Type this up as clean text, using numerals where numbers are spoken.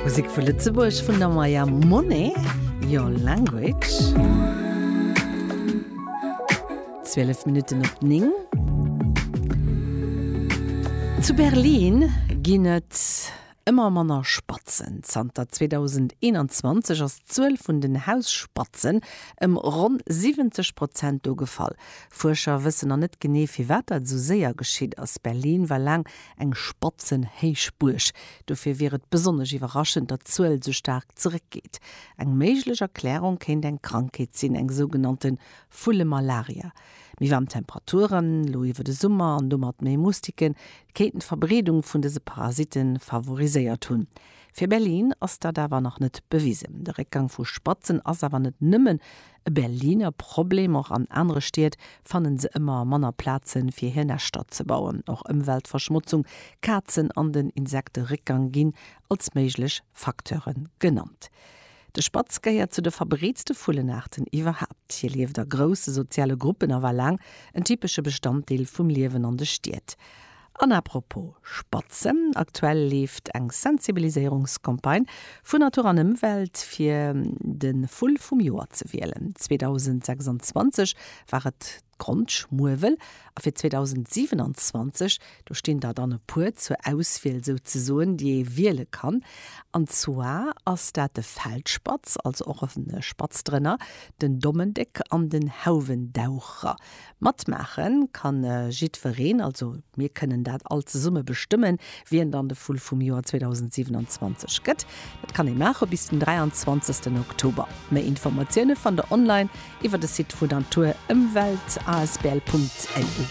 Musek vu Lëtzebuerg vun der Maya Monet, Your Language. 12 Minutten op 9. Zu Berlin ginn et ëmmer manner Spatzen. Zanter 2021 ass d'Zuel vun den Hausspatzen ëm ronn 70 Prozent do gefall. Fuerscher wëssen nach net genee, firwat dat esou séier geschitt ass. Berlin war laang eng Spatzenhéichbuerg. Dofir wier et besonnesch iwwerraschend, datt d'Zuel sou staark zeréckgeet. Eng méiglech Erklärung kéint eng Krankheet sinn, eng sougenannte Vullemalaria. Méi waarm Temperaturen elo iwwer de Summer an domat méi Mustiken kéinten d'Verbreedung vun dëse Parasitte favoriséiert hunn. Fir Berlin ass dat awer nach net bewisen. De Réckgang vu Spatzen ass awer net nëmmen E Berliner Problem, och an anere Stied fannen se ëmmer manner Plazen, fir hir Näschter ze bauen. Och Ëmweltverschmotzung, Kazen an den Insekteréckgang ginn als méiglech Facteure genannt. De Spatz gehéiert zu de verbreetste Vullenaarten iwwerhaapt. Hie lieft a grousse soziale Gruppen a war laang en typesche Bestanddeel vum Liewen an de Stied. An à propos Spatzen, aktuell leeft eng Sensibiliséierungscampagne vun Natur an Ëmwelt fir de Vull vum Joer ze wielen. 2026 war et d'Grondschmuewel a fir 2027, do stinn der dann e puer zur Auswiel souzesoen, déi ee wiele kann. An zwar ass dat de Feldspatz, also och e Spatz drënner, den Dommendéck an den Hauwendaucher. Matmaache kann jiddwereen, also mir kënnen dat all zesumme bestëmmen, wien dann de Vull vum Joer 2027 gëtt. Dat kann ee maache bis den 23 Oktober. Méi Informatioune fannt der online iwwer de Site vu Natur Ëmwelt asbl.lu.